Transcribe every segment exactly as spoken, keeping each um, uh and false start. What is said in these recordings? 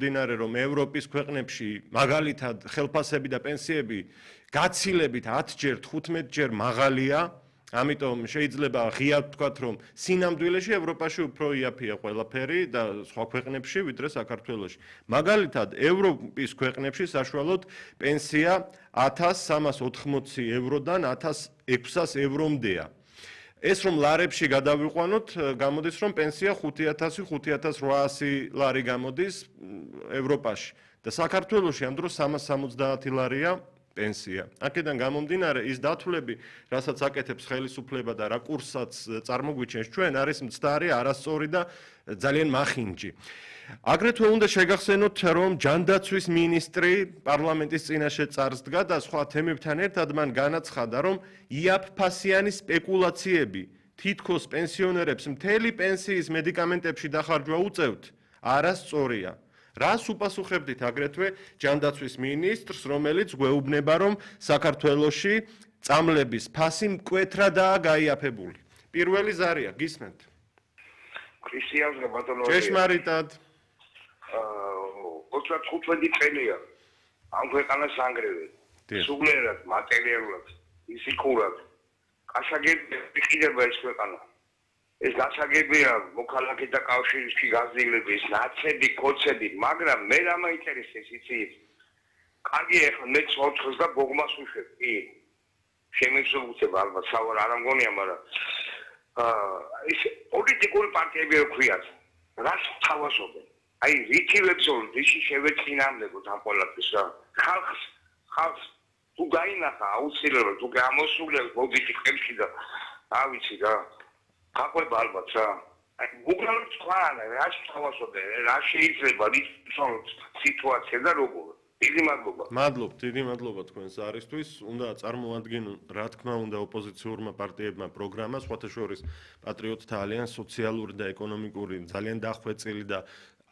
დინარე რომ ევროპის ქვეყნებში მაგალითად ხელფასები და პენსიები გაცილებით ათჯერ თხუთმეტჯერ მაღალია, ამიტომ შეიძლება ღიად ვთქვათ რომ სინამდვილეში ევროპაში უფრო იაფია ყველაფერი და სხვა ქვეყნებში ვიდრე საქართველოში. მაგალითად ევროპის ქვეყნებში საშუალოდ პენსია ათას სამას ოთხმოცი ევროდან ათას ექვსას ევრომდეა. ეს რომ ლარებში გადავიყვანოთ, გამოდის რომ პენსია ხუთი ათასი ხუთი ათას რვაასი ლარი გამოდის ევროპაში და საქართველოში ამ დროს სამას სამოცდაათი ლარია პენსია. აქედან გამომდინარე ის დათვლები, რასაც აკეთებს ხელისუფლება და რა კურსსაც წარმოგვიჩენს ჩვენ, არის მცდარი, არასწორი და ძალიან მახინჯი. აგრეთვე უნდა შეგახსენოთ, რომ ჯანდაცვის მინისტრი პარლამენტის წინაშე წარსდგა და სხვა თემებთან ერთად მან განაცხადა, რომ იაფფასიანი სპეკულაციები თითქოს პენსიონერებს მთელი პენსიის მედიკამენტებში დახარჯვა უწევთ, არასწორია. რას უპასუხებდით აგრეთვე ჯანდაცვის მინისტრს, რომელიც გვეუბნება, რომ საქართველოში წამლების ფასი მკვეთრადაა გაიაფებული. პირველი ზარია, გისმენთ? ქრისტიანს ბატონო. ჭეშმარიტად. ოცდათხუთმეტი წელია ამ ქვეყანას ანგრევენ. სულიერად, მატერიალურად, ფიზიკურად. გასაგებია ხდება ეს ქვეყანა. ეს გასაგებია მოქალაქეთა კავშირში გაზრდილების, ნაცები, კოცები, მაგრამ მე რა მაინტერესებს იცი? კარგი ახლა მე ოთხს და ბოგმას უშვებ. კი. შემეცნობუცებ ალბათ სავარ არ ამგონია, მაგრამ აა ეს პოლიტიკური პარტიები რო ქვიათ, რას თავაზობენ? აი რითივებს რიში შევეწინამდებოდ ამ ყველაფერს რა. ხალხს ხალხს თუ გაინახა აუცილებლად თუ გამოსულებს მოდიჭი ხელში და რა ვიცი რა. გაყვება ალბათ რა. აი უბრალოდ თქვენ რა შევასწორდე, რა შეიძლება ის სიტუაცია და როგორ. დიდი მადლობა. მადლობ, დიდი მადლობა თქვენს არისთვის. უნდა წარმოადგენონ, რა თქმა უნდა, ოპოზიციურმა პარტიებმა პროგრამა, სხვათა შორის პატრიოტთა ალიანსს სოციალური და ეკონომიკური ძალიან დახვეწილი და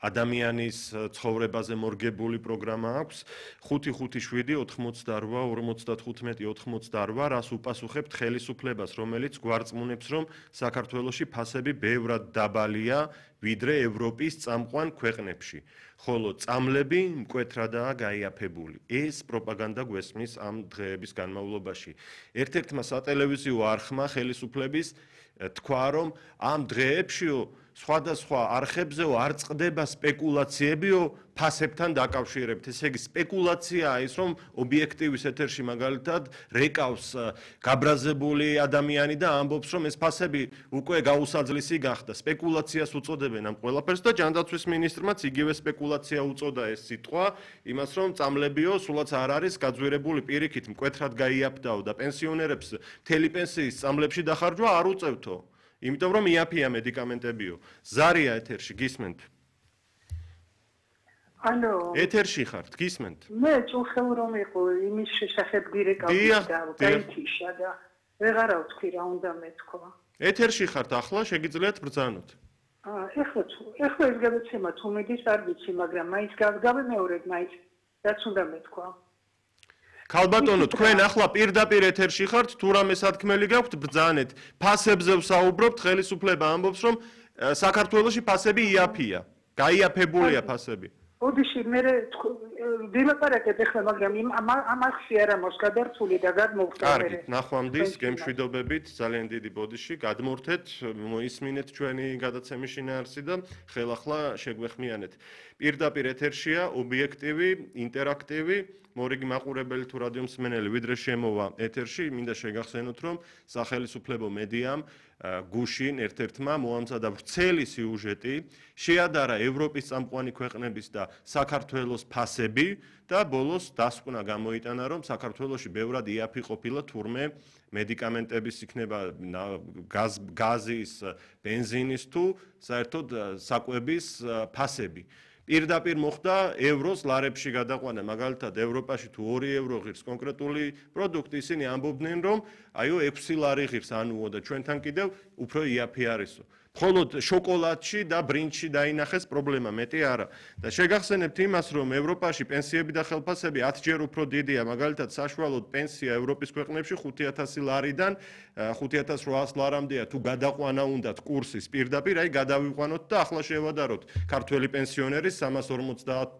ადამიანის ცხოვრებაზე მორგებული პროგრამა აქვს. ხუთი ხუთი შვიდი ოთხმოცდარვა ორმოცდათხუთმეტი ოთხმოცდარვა, რას უპასუხებთ ხელისუფლებას, რომელიც გვარწმუნებს, რომ საქართველოში ფასები ბევრად დაბალია, ვიდრე ევროპის წამყვან ქვეყნებში, ხოლო წამლები მკვეთრადაა გაიაფებული. ეს პროპაგანდა გვესმის ამ დღეების განმავლობაში. ერთ-ერთმა სატელევიზიო არხმა ხელისუფლების თქვა, რომ ამ დღეებშიო სხვადასხვა არხებზეო არ წყდება სპეკულაციებიო ფასებთან დაკავშირებით. ესე იგი სპეკულაციაა ის, რომ ობიექტივის ეთერში მაგალითად რეკავს გაბრაზებული ადამიანი და ამბობს, რომ ეს ფასები უკვე გაუსაძლისი გახდა. სპეკულაციას უწოდებენ ამ ყველაფერს და ჯანდაცვის მინისტრმაც იგივე სპეკულაცია უწოდა ეს სიტყვა, იმას რომ წამლებიო სულაც არ არის გაძვირებული პირიქით მკვეთრად გაიაფდაო და პენსიონერებს მთელი პენსიის წამლებში დახარჯვა არ უწევთო. იმიტომ რომ იაფია მედიკამენტებიო. ზარია ეთერში, გისმენთ? ალო. ეთერში ხართ, გისმენთ? მე წუხელ რომ იყო იმის შესახებ გირეკავდი და გაითიშა და ვეღარა ვთქვი რა უნდა მეთქვა. ეთერში ხართ ახლა, შეგიძლიათ ბრძანოთ. აა, ეხლა ეხლა ეს გადაცემა თუ მიდის არ ვიცი, მაგრამ მაინც გავიმეორებ, მაინც რაც უნდა მეთქვა. ქალბატონო, თქვენ ახლა პირდაპირ ეთერში ხართ, თუ რამე სათქმელი გაქვთ, ბრძანეთ. ფასებზე ვსაუბრობთ, ხელისუფლება ამბობს, რომ საქართველოში ფასები იაფია. გაიაფებულია ფასები. ოდიში, მე ვილაპარაკეთ ახლა, მაგრამ ამახსი არ ამოს გადართული და გადმოვხდა. კარგი, ნახვამდის, გემშვიდობებით, ძალიან დიდი ბოდიში, გადმორთეთ, მოისმინეთ ჩვენი გადაცემის შინაარსი და ხელახლა შეგვეხმიანეთ. პირდაპირ ეთერშია, ობიექტივი, ინტერაქტივი, მორიგი მაყურებელი თუ რადიო მსმენელი ვიდრე შემოვა ეთერში, მინდა შეგახსენოთ, რომ სახელისუფლებო მედიამ გუშინ ერთ-ერთმა მოამზადა ვრცელი სიუჟეტი, შეადარა ევროპის წამყვანი ქვეყნების და საქართველოს ფასები და ბოლოს დასკვნა გამოიტანა, რომ საქართველოში ბევრად იაფი ყოფილა თურმე მედიკამენტების იქნება გაზის, ბენზინის თუ საერთოდ საკვების ფასები. პირდაპირ მოხდა ევროს ლარებში გადაყვანა, მაგალითად ევროპაში თუ ორი ევრო ღირს კონკრეტული პროდუქტი, ისინი ამბობდნენ, რომ აიო ექვსი ლარი ღირს ანუო და ჩვენთან კიდევ უფრო იაფი არისო. მხოლოდ შოკოლადში და ბრინჯში დაინახეს პრობლემა, მეტი არა. და შეგახსენებთ იმას, რომ ევროპაში პენსიები და ხელფასები ათჯერ უფრო დიდია, მაგალითად საშუალოდ პენსია ევროპის ქვეყნებში ხუთი ათასი ლარიდან ხუთი ათას რვაას ლარამდეა, თუ გადაყვანა უნდათ კურსის პირდაპირ, აი გადავიყვანოთ და ახლა შევადაროთ ქართველი პენსიონერის სამას ორმოცდაათ